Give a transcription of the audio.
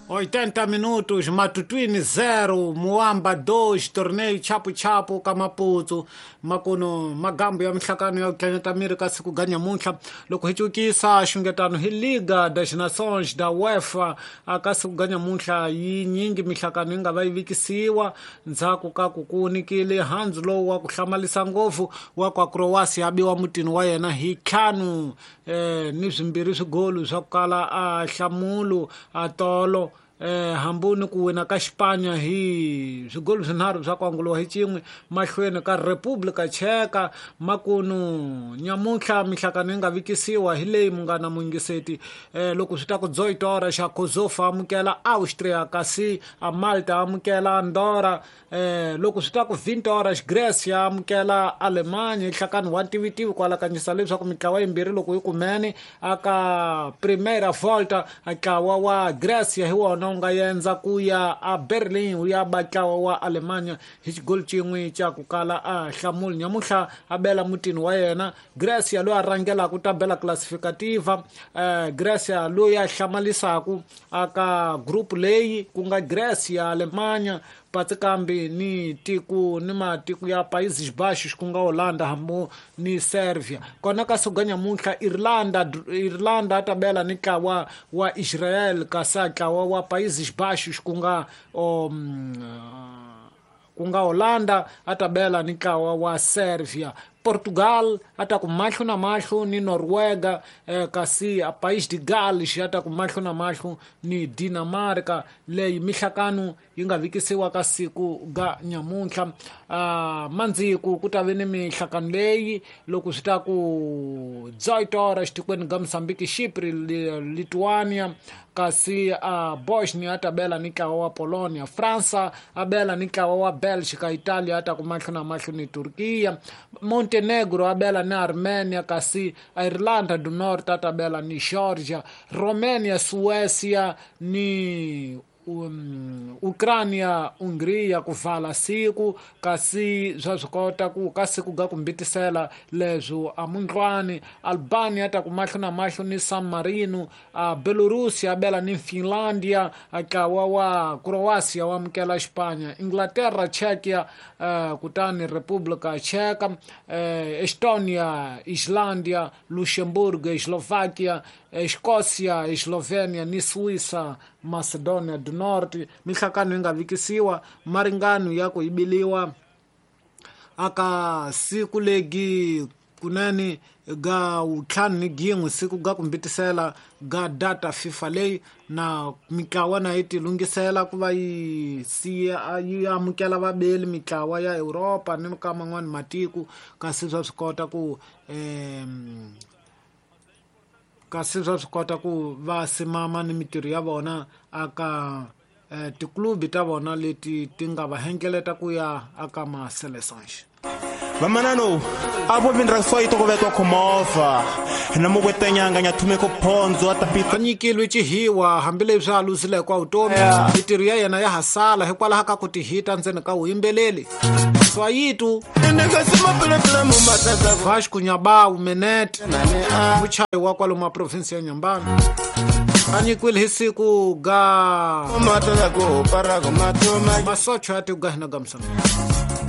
80 minutos, Matutuine 0, Muamba 2, torneio Chapo Chapo ka Maputo, makuno magambo ya mihlakano ya ku miri ka siku ga nyamuntlha loko hi cukisa xungetano hi Liga das Nações da UEFA ka siku ga nyamuntlha yi nyingi mihlakano yi nga va yi vikisiwa ndzhaku ka ku ku nikile handzu lowu wa ku hlamalisa ngopfu wa kwa Croatia biwa mutini wa yena hi ntlhanu ni swimbirhi swigolu swa ku kala a hlamulo a tolo hambuni ku wina ka Xipanya hi swigolu swinharhu swa ku anguliwa hi cin'we mahlweni ka Republika Cheka makunu nyamuntlha mihlakano yi nga vikisiwa hi leyi munghana muyingiseti loko swi ta ku Dzoitora xa Kosovo amukela Austria kasi a Malta amukela Andorra loko swi ta ku 20 horas Grecia amukela Alemanya nhlakano wa ntivitivi ku alakanyisa leswaku mitlawa yimbirhi loko yi kumene aka Primeira Volta ntlawa wa Grecia hi wona wu nga yendza ku ya a Berlin wu ya ba ntlawa wa Alemanya hi xigoli xin'we xa ku kala a hlamuli nyamuntlha a bela mutini wa yena Grecia loyi a rhangelaka tabela classificativa Grecia loyi a hlamalisaka aka group leyi ku nga Grecia Alemanya Patsikambi ni tiku ni matiku ya Países Baixos ku nga Holanda hambo ni Serbia kona ka siku ga nyamuntlha Irlanda a tabela ni ntlawa wa Israel kasi a ntlawa wa Países Baixos ku nga Holanda a tabela ni ntlawa wa Serbia Portugal a ta ku mahlo na mahlo ni Noruega kasi a País de Gales a ta ku mahlo na mahlo ni Dinamarca leyi mihlakano yi nga vikisiwa ka siku ga nyamuntlha mandziku ku ta ve ni mihlakano leyi loko swi ta ku Dzoitora xitikweni ga Mozambique Chypre Lithuania kasi Bosnia a ta bela ni ntlawa wa Polonia Fransa a bela ni ntlawa wa Belgica Italia a ta ku mahlo na mahlo ni Turkiya Montenegro a bela ni Armenia kasi Irlanda do Norte a ta bela ni Georgia Romania Suecia ni Ukraina Hungria ku vala siku kasi swa swi kota ku ka siku ga ku mbitisela leswo amundlwani Albania ta ku mahlo na mahlo ni San Marino Belarus ya bela ni Finlandia ntlawa wa Croatia wa amukela Xipanya Inglaterra Czechia kutani Republika Cheka Estonia Islandia Luxemburgo Slovakia Escócia Eslovenia ni Suíça Macedonia do Norte mihlakano yi nga vikisiwa maringano ya ku yibiliwa aka siku legi kunene ga ntlhanu ni gin'we siku ga ku mbitisela ga data FIFA leyi na mitlawa na yi ti lunghisela ku va yi siya yi amukela vabeli mitlawa ya Europa ni ka man'wani matiko kasi swa swi kota ku kasi swa swi kota ku va simama ni mitirho ya vona aka tiklubi ta vona leti ti nga va hengeleta ku ya aka ma-seleções vamanano avo vindra soito kuvetwa khomova na mukwetanyanga nyathumeko phonzo a nyikilwe cihiwa hambileswi a luzileke wa vutomi mitirho ya yena ya hasala hikwalaho ka ku tihita ndzeni ka vuyimbeleli Swayitu Vasco Nyabau Menete muchayi wa kwalomu a provinsi ya Nyambana a nyikiwile hi siku ga masocho ya tiku ga hina ga Mozambique.